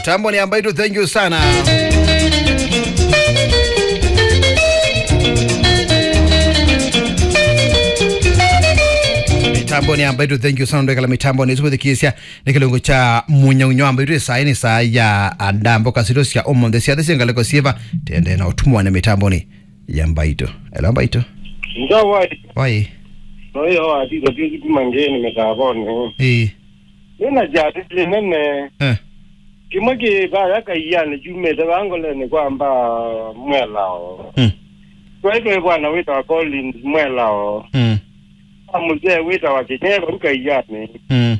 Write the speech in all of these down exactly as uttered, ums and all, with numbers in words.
Mitamboni ya Mbaitũ, thank you sana. Mitamboni ya Mbaitũ, thank you sana. Ndwekala mitamboni, ĩsu wĩthikĩĩsya nĩ kĩlungu kya Mũnyaunyau wa Mbaitũ. Ĩsaa nĩ saa ya andambo kasito sya ũmũnthĩ. Syathĩ syĩ ngalĩko syĩva? Tende na ũtumwa nĩ mitamboni ya Mbaitũ. Hello, Mbaitũ. Nza wai. Wai. Noyo wa tito tisi kuma ngeni mitamboni. Ĩĩ. Nĩna kyathĩ kĩnene. Eh. Kĩmwe kĩ vaya Kaianĩ kyumĩte vaa ngolenĩ kwa Mbaa Mwelao. Mm. Twaĩ twĩ vwana wĩtawa Collins Mwelao. Mm. Kwa mũsee wĩtawa Kĩnyeva u Kaianĩ. Mm.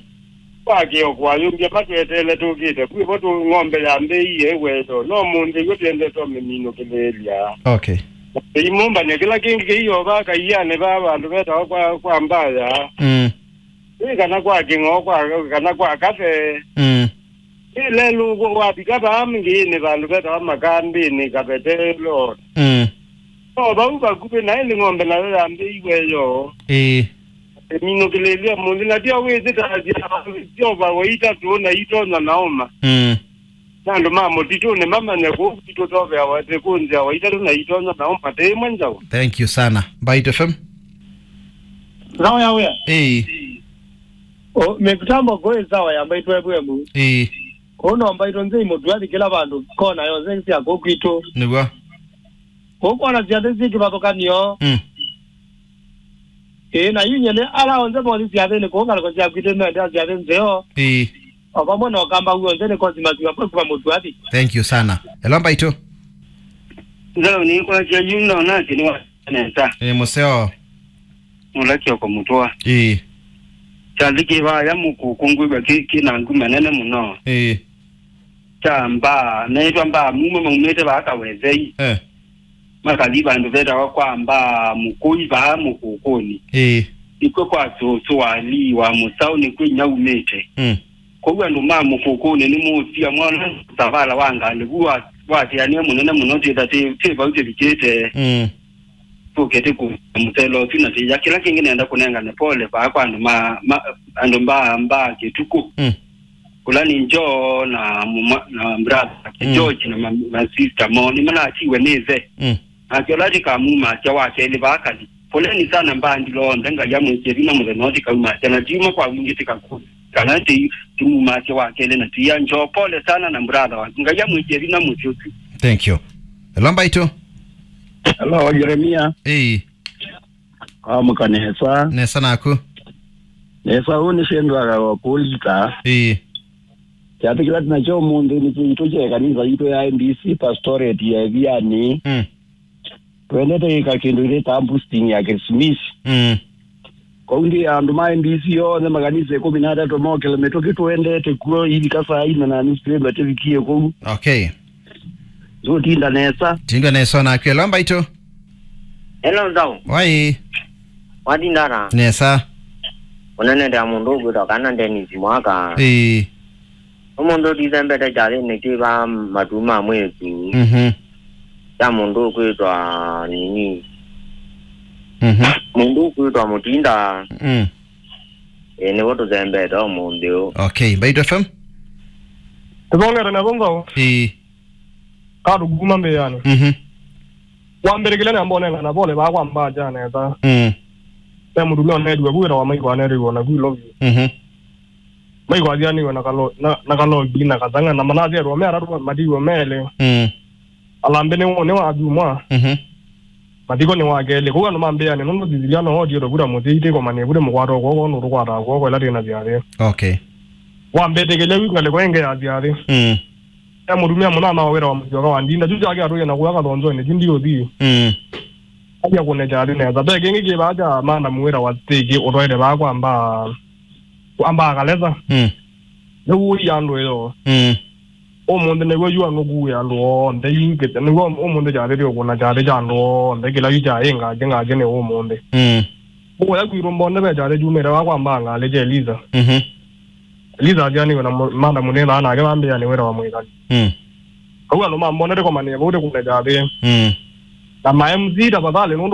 Kwa kĩoko ayũmbya matweteele tũkĩte. Kwĩvo tũ ng'ombe yambĩĩie ĩweto. No mũnthĩ w'o twendetwe mĩminũkĩlĩĩlya. Okay. Imũmbany'a kĩla kĩngĩ kĩiovaa Kaianĩ vaa vandũ vetawa kwa, kwa Mbaya. Mm. Ĩ kana kwa kĩng'oo kwa, kana kwa kave. Mm. Ĩ lelũ wavika vaa ngĩĩnĩ vandũ vetawa makambĩnĩ kavetelo. Mm. No vau vakuvĩ naĩ nĩ ng'ombe nayo yambĩiwe yo. Ĩĩ. Ĩminũkĩlĩlya mũnthĩ na tyo wĩsĩtasya Jehova wa itatũ na itonya na ũma. Mm. Na andũ ma mũtitũnĩ mamanye kũu kwitũ toveawa ĩtĩ kũnzĩawa itatũ na itonya na ũma tĩ ĩmwe nzaũ. Thank you sana. Mbaitũ F M. Sawa ya wĩa. Ĩĩ. O, mĩtambo kũĩ sawa ya Mbaitũ F M. Ĩĩ. Kũu no Mbaitũ nzĩ imũtua kĩla vandũ kona yonthe sya kũu kwitũ. Nĩw'o. Kũu kona syathĩ syĩ kĩvathũkanio. Mm. Ĩĩ, na yu nyene ala onthe mothi syathĩnĩ kũu ngalĩko sya kwitũ mendea syathĩ nzeo. Ĩĩ. O vamwe na ũkamba w'onthe nĩ kosi masiwa kwa kuma mũtuathi. Thank you sana. Hello, Mbaitũ. Nzau nĩkwasya yu ndona atĩ nĩwa nesa. Ĩĩ, mũseo. Mũla Kioko Mũtũa. Ĩĩ. Kyathĩ kĩ vaya Mũkũkũ ngwĩw'a kĩ, kĩ na nguma nene mũno. Ĩĩ. Kya Mbaa, meĩtwa Mbaa Muma maumĩte vaa Kawethei. Eh. Makathi vandũ vetawa kwa Mbaa Mũkũi vaa Mũkũkũnĩ. Ĩĩ. Nĩkw'o kwa sũsũ wa Lee wa Mũsaũ nĩkw'o inya umĩte. Mm. Kwoou andũ ma Mũkũkũnĩ nĩmũũsia mwana savala wa ngalĩ vu wa, wasĩanĩe mũnene mũno twĩtha twĩ, twĩ vau tũvikĩte. Mm. Tũkĩte kũ mũselo ũsu na tĩya. Kĩla kĩngĩ nenda kũnengane pole vaa kwa andũ ma, ma, andũ Mbaa, Mbaa Kĩtukũ. Mm. Kũla nĩ Joe na muma, na brother wake, mm, George na ma, ma sister mo, nĩmanatiwe nĩ ĩthe. Mm. Nake ũla tĩkamumasya wa kelĩ vaa kathi. Poleni sana mbandi lonthe, Ngai amwĩkĩe vinya mũthenya ũũ tĩkaumasya, na tiuma kwa wingĩ tĩkaku, kana tĩ, tĩmumasya wa kelĩ na tĩya Joe, pole sana na brother waku. Ngai amwĩkĩe vinya mũsyĩ ũsu. Thank you. Hello, Mbaitũ. Hello, Jeremia. Ĩĩ. Amũka nesa. Nesa naku. Nesa, ũũ nĩ Sendwaga wa Polita. Ĩĩ. Kyathĩ kĩla tũnakyo ũmũnthĩ nĩ kĩitũ kya ĩkanisa yitũ ya M B C pastorate ya Ĩvianĩ. Mm. Twendete ĩka kĩndũ ĩtawa boosting ya Christmas. Mm. Kwoou ndi andũ ma M B C onthe makanisa ĩkũmi na atatũ mokĩle mĩtũkĩ tũendete kuo ivika saa ina na nusu twĩthwa tĩvikie kũu. Okay. Ndũtinda nesa. Tinda nesa naku. Hello, Mbaitũ. Hello, Nzau. Wai. Watinda ata? Nesa. Ũnenete na mũndũ ũkwĩtwa kana Dennis Mwaka. Ĩĩ. Ũmũnthĩ ũtithembete kyathĩnĩ kĩ vaa matu ma mwĩĩtu. Mhm. Kya mũndũ ũkwĩtwa nini. Mhm. Mũndũ ũkwĩtwa Mũtinda. Mm. Ĩĩ, nĩw'o tũthembete ũmũnthĩ ũũ. Okay, Mbaitũ F M. Tũthongete na Nzau. Ĩĩ. Katũ kuma mbĩanĩ. Mhm. Wa mbere kĩla nĩambonengana pole vaa kwa Mbaa kya nesa. Mm. Ve mũtumĩa ũneetiwe vu wĩtawa Maiko aneetiwe na vu Ilovi. Mhm. Maiko athianĩiwe na kalo-, na, na kalogi na katang'a na manathietwe me atatũ matiiwe melĩ. Mm. Alambĩ nĩ, nĩ wa athumwa. Mhm. Mathiko nĩ wa kelĩ. Kũu andũ mambĩanĩ nũndũ Sisilia no otie tũvuta mũsyĩ itĩkomanie vute mũkwata ũkw'oko nũtũkwataa kw'oko ĩla twĩ na syathĩ. Okay. Wambetĩkĩlya yu ngalĩko ĩngĩ ya syathĩ. Mm. E mũtumĩa mũnana wa wĩra wa mũsyoka wa ndinda, kyu kyake atũie na kũya kathonzonĩ, kyu ndiũthi. Mm. Aja kũne kyathĩ nesa. Ve kĩngĩ kĩ vaa kya manamu wĩra wa stake ũtwaĩte vaa kwa Mbaa, kwa Mbaa Kalesa. Mm. Nĩw'o ũi andũ ĩyo. Mm. Ũmũnthĩ nĩw'o yu anũkuie andũ onthe, yu ngĩte, nĩw'o ũmũnthĩ kyathĩ tĩ ũkũna kyathĩ kya andũ onthe, kĩla yu kyaĩ ngakĩ ngakĩ nĩ ũmũnthĩ. Mm. Kũya kwitũ mbonde ve kyathĩ kyumĩte vaa kwa Mbaa ngalĩ kya Eliza. Mhm. Eliza athianĩiwe na mũ-, manda mũnĩthaa nake vambĩanĩ wĩra wa mwĩkani. Mm. Kau andũ ma mbonde tĩkomanĩe vau tĩkũne kyathĩ. Mm. Na ma M C tafadhali nũndũ